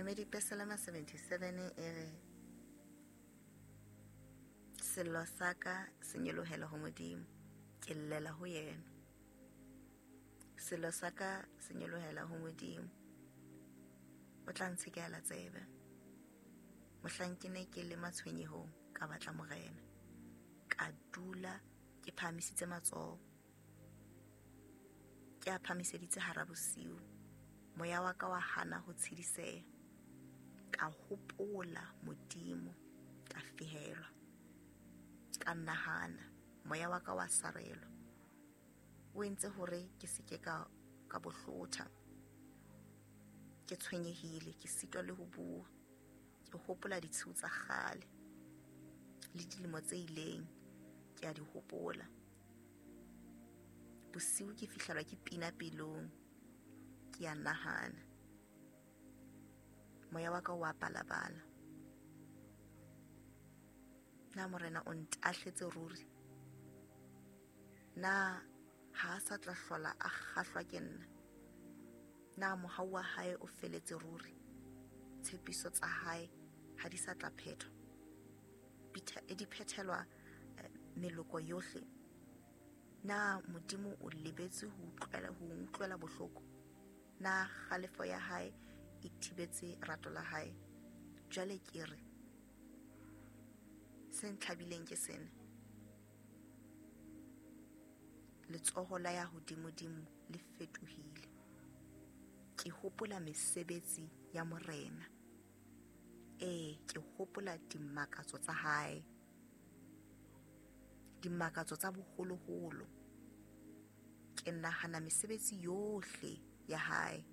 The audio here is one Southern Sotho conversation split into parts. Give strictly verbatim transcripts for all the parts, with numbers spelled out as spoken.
Namedi Pesalema seventy-seven e re, sello sa ka se nyolohela ho Modimo, ke llela ho yena. Sello sa ka se nyolohela ho Modimo, o tla ntshekela tsebe. Mohlang ke ne ke le matshwenyehong, ka batla Morena, ka dula ke phahamisitse matsoho, ke a phahamiseditse hara bosiu. Moya wa ka wa hana ho tshediseha, ka hopola Modimo, ka fehelwa, ka nahana, moya wa ka wa sarelwa. O entse hore ke se ke ka ka bohlotha, ke tshwenyehile, ke sitwa le ho bua. Ke hopola ditshiu tsa kgale le dilemo tse ileng, ke a di hopola. Bosiu ke fihlelwa ke pina pelong, ke a nahana, moya wa ka o a balabala. Na Morena o ntahletse ruri? Na ha a sa tla hlola a kgahlwa ke nna? Na mohau wa hae o feletse ruri? Tshepiso tsa hae ha di sa tla phethwa, di phethelwa meloko yohle. Na Modimo o lebetse ho utlwela ho utlwela bohloko? Na kgalefo ya hae e thibetse rato la hae? Jwale ke re, se ntlhabileng ke sena, letsoho la ya hodimodimo le fetohile. Ke hopola mesebetsi ya Morena, ee, ke hopola dimakatso tsa hae, dimakatso tsa boholoholo. Ke nahana mesebetsi yohle ya hae,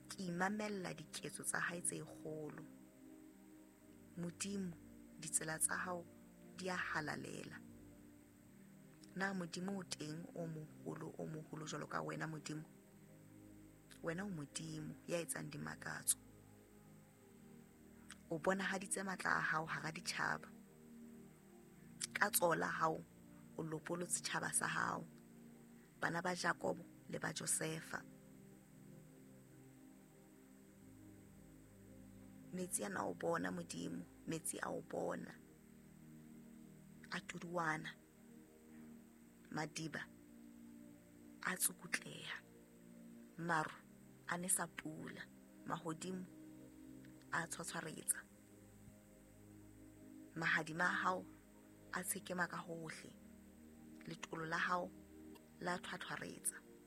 ke imamella diketso tsa hae tse kgolo. Modimo, ditsela tsa hao di a halalela. Na Modimo o teng o moholo, o moholo jwalo ka wena Modimo? Wena o Modimo ya etsang dimakatso. O bonahaditse matla a hao hara ditjhaba. Ka tsoho la hao o lopolotse tjhaba sa hao, bana ba Jakobo le ba Josefa. Metsi ana o bona Modimo, metsi a o bona, a tuduana, madiba a tsukutleha, maru a nesa pula, mahodimo a tshwatshwaretsa, mahadima a hao a tshekema ka hohle, letolo la hao la thwathwaretsa.